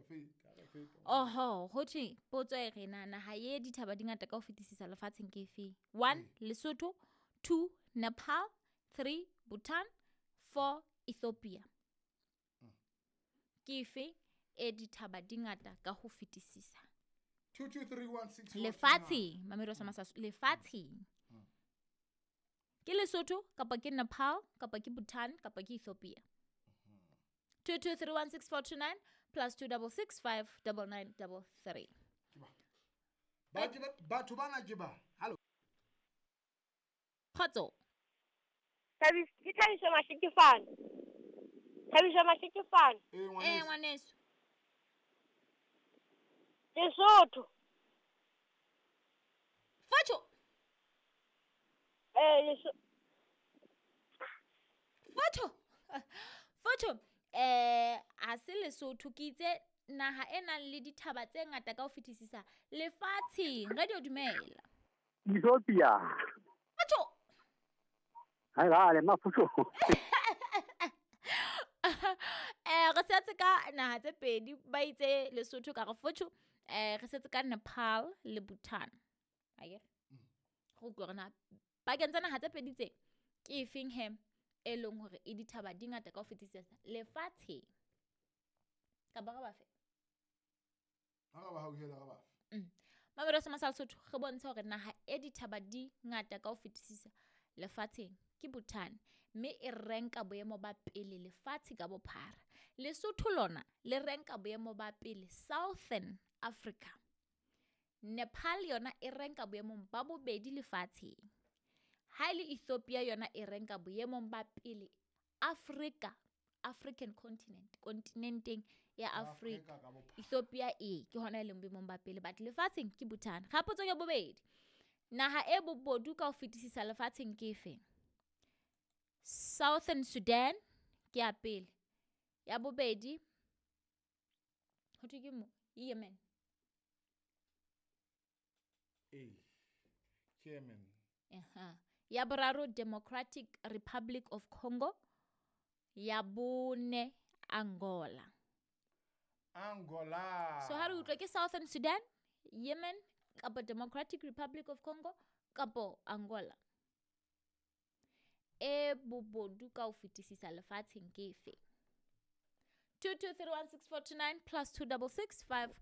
Feta, re feta. Oho, ho thwe potso e re na naha ye dithaba di ngata ka ho fetisisa lefatsheng ke efe? 1 Lesotho, 2 Nepal, 3 Bhutan, 4 Ethiopia. Ke efe e dithaba di ngata ka ho fetisisa? 22316. Lefatsheng, Mamelodi sa Masasu, lefatsheng. Ke Lesotho kapa ke Nepal kapa ke Bhutan kapa ke Ethiopia. 22316429 plus 2665933. Batho bana ke ba. Hello. Kgotso. Ke Thabiso Mashikifane. Thabiso Mashikifane. Eh, ngwaneso. Ngwaneso. Lesotho. Fotsho. Eh, Fotsho. Fotsho. A se Lesotho ke itse naha e nang le dithaba tse ngata ka ho fetisisa lefatsheng. Radio dumela. Ethiopia. Fotsho. Hai gale mafusho. Re setse ka naha tse pedi ba itse Lesotho ka re fotsho. Re setse ka Nepal le Bhutan. Akere? Go utlwa hore na pakeng tsa naha tse pedi tse ke efeng he e leng hore e dithaba di ngata ka ho fetisisa lefatsheng. Kapa re ba fe? Ha re ba hauhela re ba fe. Mamelodi sa Masala Sotho re bontsha hore naha e dithaba di ngata ka ho fetisisa lefatsheng ke Bhutan, mme e renka boemo ba pele lefatshe ka bophara. Lesotho lona le renka boemo ba pele Southern Africa. Nepal yona e renka boemong ba bobedi lefatsheng. Ha e le Ethiopia yona e renka boemong ba pele Africa, African continent, kontinenteng ya Africa. Afrika ka bophara. Ethiopia e ke hona e leng boemong ba pele, but lefatsheng ke Bhutan. Ga potso ya bobedi. Naha e bobodu ka ho fetisisa lefatsheng ke efe? Southern Sudan ke ya pele. Ya bobedi ho thwe ke mo Yemen. Eh. Yemen. Aha. Ya boraro Democratic Republic of Congo. Ya bone Angola. Angola. So ha re utlwa ke Southern Sudan, Yemen kapa Democratic Republic of Congo kapa Angola. E bobodu ka ho fetisisa lefatsheng ke efe? 22316429 plus 266 5